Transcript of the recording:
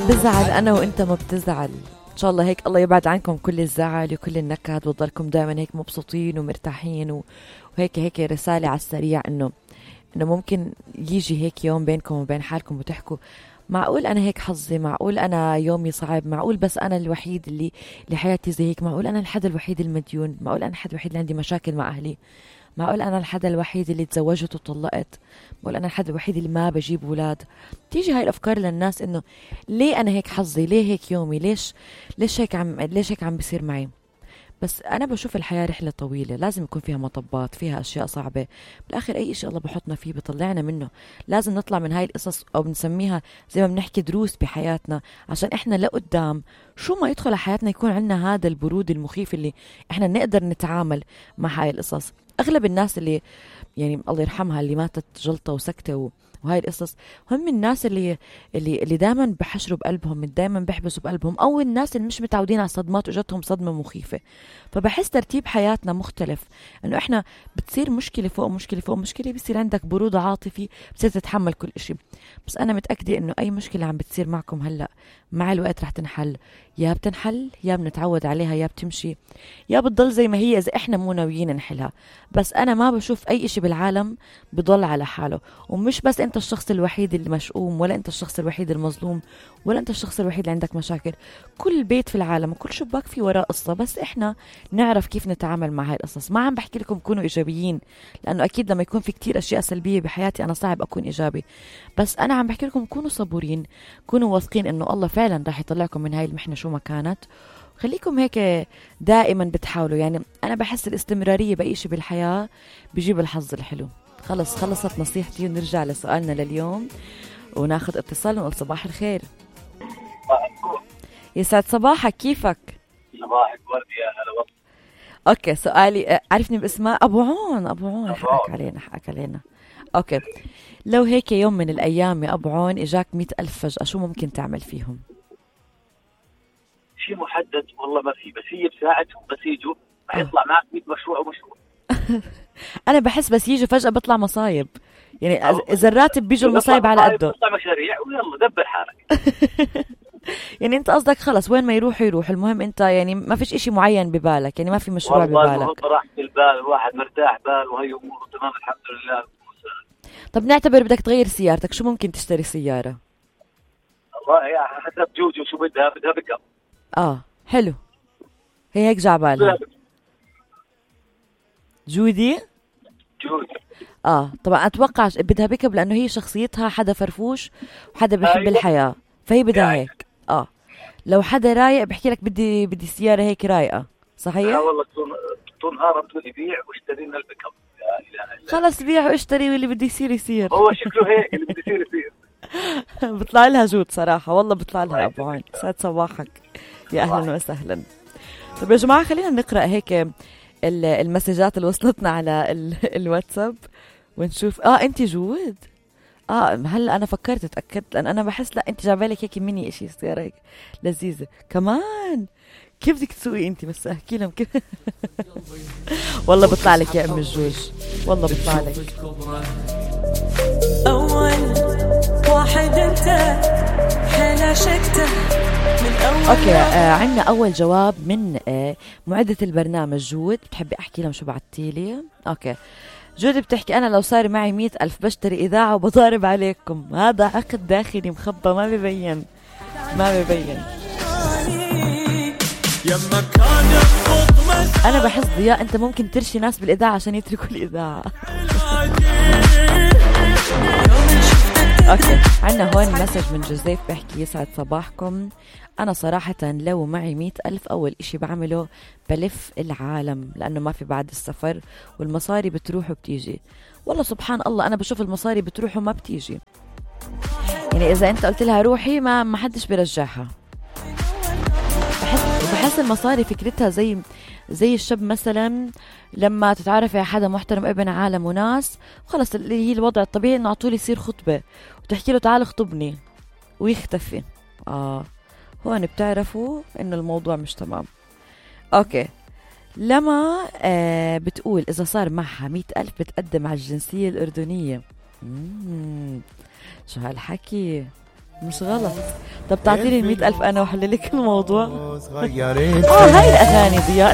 بزعل أنا وإنت ما بتزعل. إن شاء الله هيك الله يبعد عنكم كل الزعل وكل النكد وتضلكم دائما هيك مبسوطين ومرتاحين وهيك رسالة على السريع إنه ممكن يجي هيك يوم بينكم وبين حالكم وتحكوا معقول أنا هيك حظي، معقول أنا يومي صعب، معقول بس أنا الوحيد اللي حياتي زي هيك، معقول أنا الحد الوحيد المديون، معقول أنا الحد الوحيد اللي عندي مشاكل مع أهلي، معقول أنا الحد الوحيد اللي تزوجت وطلقت، معقول أنا الحد الوحيد اللي ما بجيب أولاد. تيجي هاي الأفكار للناس إنه ليه أنا هيك حظي، ليه هيك يومي، ليش هيك عم بيصير معي. بس أنا بشوف الحياة رحلة طويلة، لازم يكون فيها مطبات، فيها أشياء صعبة، بالآخر أي إشي الله بحطنا فيه بطلعنا منه. لازم نطلع من هاي القصص أو بنسميها زي ما بنحكي دروس بحياتنا، عشان إحنا لقدام شو ما يدخل على حياتنا يكون عندنا هذا البرود المخيف اللي إحنا نقدر نتعامل مع هاي القصص. أغلب الناس اللي يعني الله يرحمها اللي ماتت جلطة وسكتة وهاي القصص هم الناس اللي دائما بحشروا بقلبهم، دائما بيحبسوا بقلبهم، او الناس اللي مش متعودين على الصدمات وجتهم صدمة مخيفة. فبحس ترتيب حياتنا مختلف، انه احنا بتصير مشكلة فوق مشكلة فوق مشكلة، بصير عندك برود عاطفي، بتصير تتحمل كل اشي. بس انا متأكدة انه اي مشكلة عم بتصير معكم هلأ مع الوقت رح تنحل، يا بتنحل يا بنتعود عليها يا بتمشي يا بتضل زي ما هي اذا احنا مو ناويين نحلها. بس انا ما بشوف اي اشي بالعالم بضل على حاله، ومش بس انت الشخص الوحيد اللي مشؤوم، ولا انت الشخص الوحيد المظلوم، ولا انت الشخص الوحيد اللي عندك مشاكل. كل بيت في العالم وكل شباك في وراء قصة، بس احنا نعرف كيف نتعامل مع هاي القصص. ما عم بحكي لكم كونوا ايجابيين، لانه اكيد لما يكون في كتير اشياء سلبية بحياتي انا صعب اكون ايجابي، بس انا عم بحكي لكم كونوا صبورين، كونوا واثقين انه الله فعلا راح يطلعكم من هاي المحنة شو ما كانت. خليكم هيك دائما بتحاولوا، يعني انا بحس الاستمرارية باي شيء بالحياة بيجيب الحظ الحلو. خلصت نصيحتي ونرجع لسؤالنا لليوم وناخد اتصال ونقول صباح الخير. يسعد صباحك، كيفك؟ صباحك ورد يا هلا والله. اوكي سؤالي، عرفني باسمه ابو عون حقك علينا. اوكي، لو هيك يوم من الايام يا ابو عون اجاك 100,000 فجأة، شو ممكن تعمل فيهم؟ شيء محدد والله ما في، بس هي بساعتهم بس يجوا رح يطلع معك 100 مشروع ومشروع. انا بحس بس يجوا فجأة بطلع مصايب، يعني اذا الراتب بيجوا المصايب على قده، بطلع مشاريع ويلا دبر حالك. يعني انت قصدك خلص وين ما يروح، المهم انت يعني ما فيش اشي معين ببالك، يعني ما في مشروع ببالك. والله راح بالبال، الواحد مرتاح بال وهي اموره تمام الحمد لله. طب نعتبر بدك تغير سيارتك، شو ممكن تشتري سيارة؟ والله يا حسب جوجو شو بدها بيك اب. حلو، هي هيك جعبالها جودي. طبعا اتوقع بدها بيك اب لانه هي شخصيتها حدا فرفوش وحدا بيحب الحياة، فهي بدها هيك. لو حدا رايق بحكي لك بدي سيارة هيك رايقة، صحيح؟ والله طول نهار تقولي بيع واشتري لنا البيك اب. خلص بيع واشتري واللي بده يصير. هو شكله هيك اللي بده يصير. بطلع لها جود صراحة، والله بطلع لها أبو عون. سعد صباحك، يا أهلا وسهلا. طب يا جماعة خلينا نقرأ هيك المسجات اللي وصلتنا على الواتساب ونشوف. أنت جود. هلا أنا فكرت اتأكدت، لأن أنا بحس لا أنت جايبالك هيك مني إشي سيارة هيك لذيذة كمان. كيف بدك تسوقي أنت؟ بس أحكي لهم كيف. والله بطلع لك يا أم الجوج، والله بطلع لك. أول واحد أنت حلا شكته من أول. أوكي، عنا أول جواب من معدة البرنامج جود. بتحبي أحكي لهم شو بعتيلي؟ أوكي، جود بتحكي أنا لو صار معي 100,000 بشتري إذاعة وبضارب عليكم. هذا عقد داخلي مخبى ما بيبين. أنا بحس ضياء أنت ممكن ترشي ناس بالإذاعة عشان يتركوا الإذاعة. أوكي، عنا هون مسج من جوزيف بحكي يسعد صباحكم. أنا صراحة لو معي 100,000 أول إشي بعمله بلف العالم، لأنه ما في بعد السفر والمصاري بتروح وبتيجي. والله سبحان الله أنا بشوف المصاري بتروح وما بتيجي، يعني إذا أنت قلت لها روحي ما حدش بيرجعها. بحس المصاري فكرتها زي الشاب مثلا لما تتعرف على حدا محترم ابن عالم وناس، خلص اللي هي الوضع الطبيعي انه عطولي يصير خطبة وتحكي له تعال اخطبني ويختفي. هون بتعرفوا انه الموضوع مش تمام. اوكي، لما بتقول اذا صار معها 100,000 بتقدم على الجنسية الأردنية. شو هالحكي؟ مش غلط. طب تعطيني 100,000 أنا وحللك الموضوع. صغيرين هاي الأغاني ضياء